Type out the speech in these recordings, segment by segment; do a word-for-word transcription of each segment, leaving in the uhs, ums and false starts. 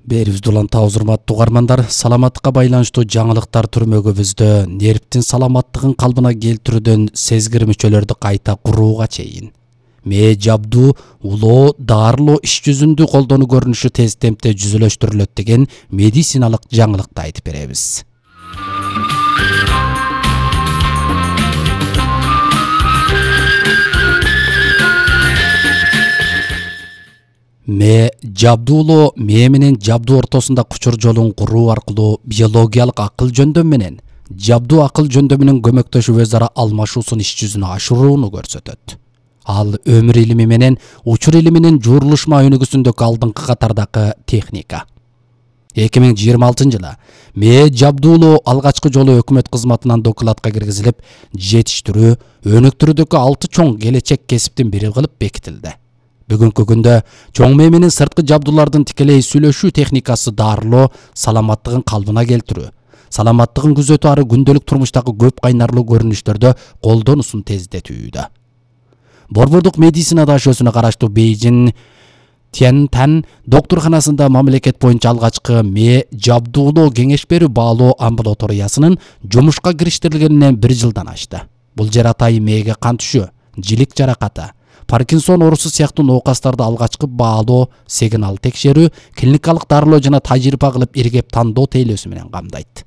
Берибизди улантабыз, урматтуу угармандар. Саламаттыкка байланыштуу жаңылыктар түрмөгүбүздө нервтин саламаттыгын калыбына келтирүүдөн сезгир мүчөлөрдү кайта курууга чейин мээ жабдуу улоо дарылоо иш жүзүндө колдонуу көрүнүшү тез темпте жүзөлөштүрүлөт деген медициналык жаңылыкты айтып беребиз. Мээ жабдуулоо мээ менен жабдуу ортосунда кучур жолун куруу аркылуу биологиялык акыл жөндөм менен жабдуу акыл жөндөмүнүн көмөктөшүп өз ара алмашуусун иш жүзүнө ашырууну көрсөтөт. Ал өмүр илими менен учур илиминин журулушма өнүгүүсүндөгү алдыңкы катардагы техника. эки миң жыйырма алтынчы жылы мээ жабдуулоо алгачкы жолу өкмөт кызматынан докладка киргизилип, жетиштирүү, өнүктүрүүдөгү алты чоң келечек кесиптин бири кылып бекитилди. Бүгүнкү күндө чоң мээ менен сырткы жабдуулардын тикелей сүйлөшүү техникасы дарылоо, саламаттыгын калыбына келтирүү, саламаттыгын күзөтүү ары күндөлүк турмуштагы көп кайнарлуу көрүнүштөрдө колдонуусун тездетүүдө. Борбордук медицина дашөсүнө караштуу Бейжин Тянтан доктурканасында мамлекет боюнча алгачкы мээ жабдуулоо кеңеш берүү баалоо амбулаториясынын жумушка кириштирилгенине бир жылдан ашты. Бул жер атайын мээге кан түшүү, жилик жаракаты, Паркинсон оорусу сыяктуу ноокастарды алгачкы баалоо, сигнал текшерүү, клиникалык дарылоо жана тажрыйба кылып иргеп тандоо тейлөөсү менен камдайт.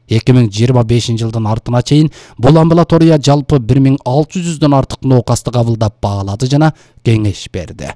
эки миң жыйырма бешинчи жылдын артына чейин бул амбулатория жалпы бир миң алты жүздөн артык ноокастты кабылдап баалады жана кеңеш берди.